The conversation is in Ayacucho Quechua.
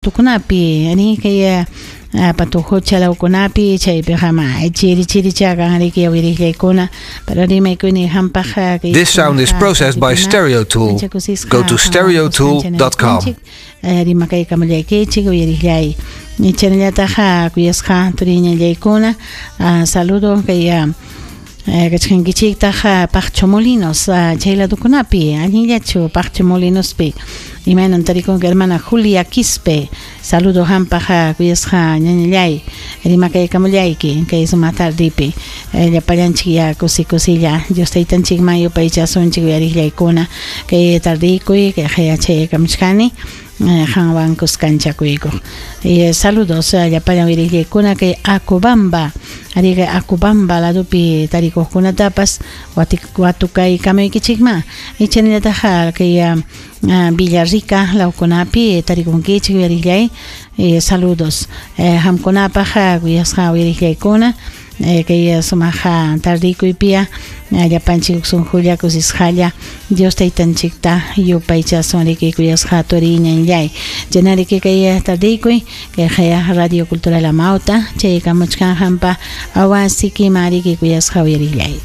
Tukunapi kay patujucha lawkunapi chaypiqa ma chiri chirichakan riki uyariqllaykuna pero rimaykuni hampaq This sound is processed by StereoTool. Go to stereotool.com. Rimakaykamullaykichik uyariqllay chaynallataq kuyasqa turiñallaykuna saludo kay kachkankichiktaq Paqcho Molinos chay ladukunapi allinllachu Paqcho Molinospi imaynan tarikunki hermana Julia Quispe saludo hampaq kuyasqa ñañallay rimakaykamullayki kay sumaq tardipi llapallanchik ya kusi kusilla Dios taytanchikman yupaychasunchik uyariqllaykuna kay tardikuy kay hayachaykamuchkani qanwan kuskanchakuykuq saludos llapallan uyariqllaykuna kay Acobamba ariqa Acobamba ladupi tarikuqkunatapas watukaykamuykichikman chaynallataq kay Villarrica lawkunapi tarikunkichik uyariqllay saludos hamkunapaq kuyasqa uyariqllaykuna kay sumaq tardikuypiya llapanchik sunqulla kusisqalla Dios taytanchikta yupaychasun riki kuyasqa turiñanllay chaynariki kay tardikuy kay Radio Cultural Amauta chaykamuchkan hampa awasikiman riki kuyasqa uyariqllay.